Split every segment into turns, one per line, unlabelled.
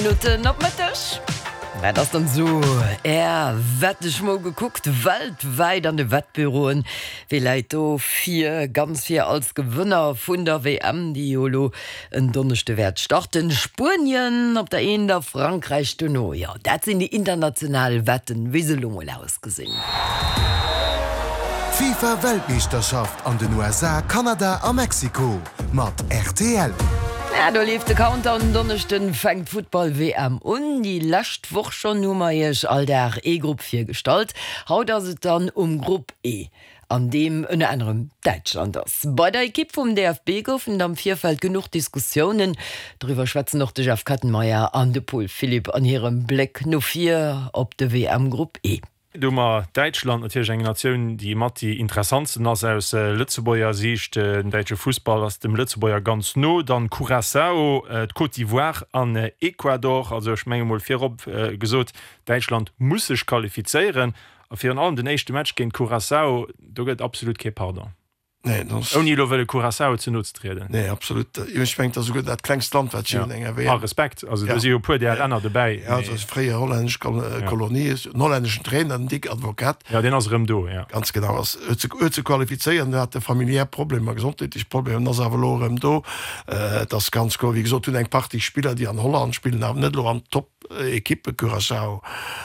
Minutten op Mëtteg. Wat ass dann esou Är Wett? Ech mol gekuckt, weltwäit an de Wettbüroen, wie läit do vir, ganz vir als Gewënner vun der WM, déi jo elo en Donneschde wäert starten? Spuenien op der eent a Frankräich dono. Jo, dat sinn déi international Wetten, wéi se elo mol ausgesinn.
D'FIFA-Weltmeeschterschaft an den USA, Kanada a Mexiko mat rtl.
Ja, do leeft de Countdown, en Donneschden fänkt d'Futtball-WM un. Déi lescht Woch schonn hu mer iech all Dag ee Grupp virgestallt. Haut ass et dann um Grupp E, an deem ënner anerem Däitschland ass. Bei der Ekipp vum DFB goufen et am Virfeld genuch Diskussiounen. Doriwwer schwätzen och de Jeff Kettenmeyer an de Paul Philipp an hirem Bléck no vir op de WM-Grupp E.
Do hu mer Däitschland, natierlech eng Natioun, déi mat déi interessantsten ass aus Lëtzebuerger Siicht. Den däitsche Fussball ass dem Lëtzebuerger ganz no. Dann Curaçao, d'Côte d'Ivoire an Ecuador. Also ech menge mol virop gesot, Däitschland muss sech qualifizéieren. A virun allem den éischte Match géint Curaçao, do gëtt absolut kee Pardon.
Nee, dat ass.
Ouni elo wëlle Curaçao ze no ze trieden.
Nee, absolut. Ech mengen, et ass esouguer dat klengst Land, wat je hunn, enger
WM. A Respekt, also do si jo e puer där Länner dobäi.
Ja, dat ass fréier hollännesch Kolonie, en hollänneschen Trainer, den Dick Advocaat.
Ja, deen ass erëm do, ja.
Ganz genau, ass, huet se, huet se qualifizéiert, an hat e familiär Problemer, gesondheetlech Problemer, an ass awer elo erëm do. Et ass ganz kloer, wéi gesot, hunn eng Partie Spiller, déi an Holland spillen, awer net elo am Top. Ekippe Curaçao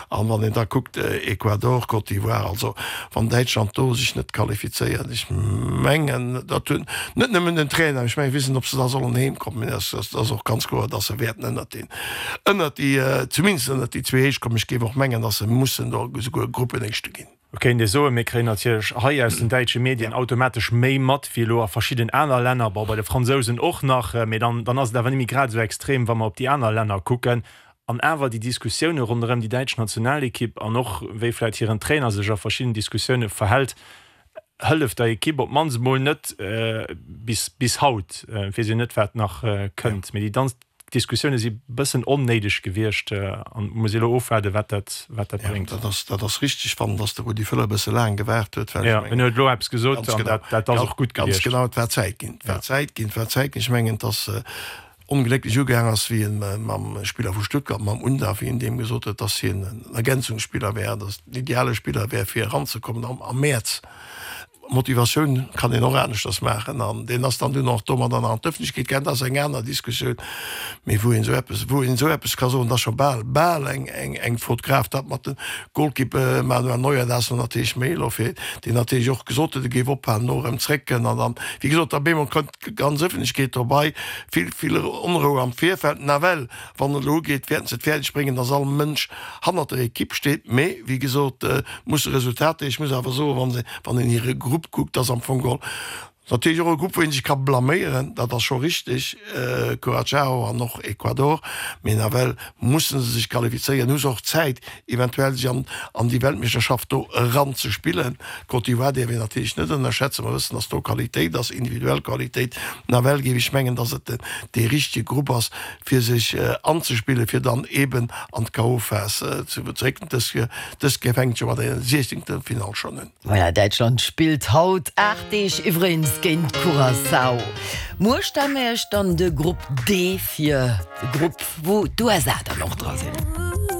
an wann een da kuckt Ecuador, Côte d'Ivoire, also wann Däitschland do sech net qualifizéiert, ech mengen dat hunn net nëmmen den Trainer, ech mengen ech weess net ob se da sollen heem kommen, mee dat ass och ganz kloer, datt se wäerten ënnert deen, ënnert déi, zumindest ënnert déi zwee Héich kommen. Ech géif och mengen, datt se mussen do esouguer Gruppenéischte ginn.
Et kéint ee soen, mir kréien natierlech hei aus den däitsche Medien automatesch méi mat wéi elo a verschidden aner Länner, bon, bei de Fransousen och nach, mee dann, dann ass et awer net méi grad esou extrem, wa mer op déi aner Länner kucken. An awer déi Diskussioune ronderëm déi däitsch Nationalekipp an och wéi vläicht hiren Trainer sech a verschidden Diskussioune verhält, hëlleft der Ekipp op d'mannst emol net bis, bis haut. Et weess een net, wat nach kënnt, mee déi D'Diskussioune si bëssen onnéideg gewiescht an muss ee elo ofwaarden, wat dat wat dat bréngt.
Dat ass dat ass richteg. Fannen, datt de Rudi Völler e bësse laang gewaart huet,
well ech mengen. En huet elo eppes gesot an dat dat ass och gutt
gewiescht. Ganz genau, et war Zäit ginn. Et war Zäit ginn, et war Zäit ginn. Ech mengen, datt onglécklech ugaang ass, wéi en mam Spiller vu Stuttgart, mam Undav, wéi en deem gesot huet, datt hien en Ergänzungsspiller wär, datt en ideale Spiller wär fir eranzekommen am Mäerz. Motivatioun kann een och aneschters maachen an deen ass dann dunn och domadder nach an d'Ëffentlechkeet gaangen. Dat ass eng aner Diskussioun, mee wou een esou eppes, wou een esou eppes ka soen, dat ass scho bal, bal eng, eng, eng Faute grave. Dat mat dem Golkipp Manuel Neuer, dat ass lo natierlech méi elo fir, deen natierlech och gesot huet, e géif ophalen, elo erëm zréckkënn an dann, wéi gesot, da bemol kënnt d'ganz Ëffentlechkeet dobei, vill, vill Onrou am Virfeld. Nawell, wann et elo ugeet, wäerten se et fäerdeg bréngen, dass all Mënsch hannert der Ekipp steet, mee wéi gesot musse Resultater, ech muss awer soen, wann se, wann een hire Grupp kuckt, ass am Fong geholl natierlech och e Grupp wou ee sech ka blaméieren, dat ass scho richteg, Curaçao an och Ecuador, mee nawell musse se sech qualifizéieren, hu se och Zäit eventuell sech an an déi Weltmeeschterschaft do eranzespillen. D'Côte d'Ivoire däerf een natierlech net ënnerschätzen, mer wëssen, datt do Qualitéit ass, individuell Qualitéit, nawell géif ech mengen, datt et dee richtege Grupp ass fir sech anzespillen, fir dann eben an d'KO-Phas ze zréck. Dës dës Kéier fänkt jo mat enger Siechzehntelfinall schonn un.
Voilà, Däitschland spillt haut 8 Deeg iwwregens géint Curaçao. Muer stelle mir iech dann de Grupp D vir, de Grupp wou d'USA dann och dra sinn.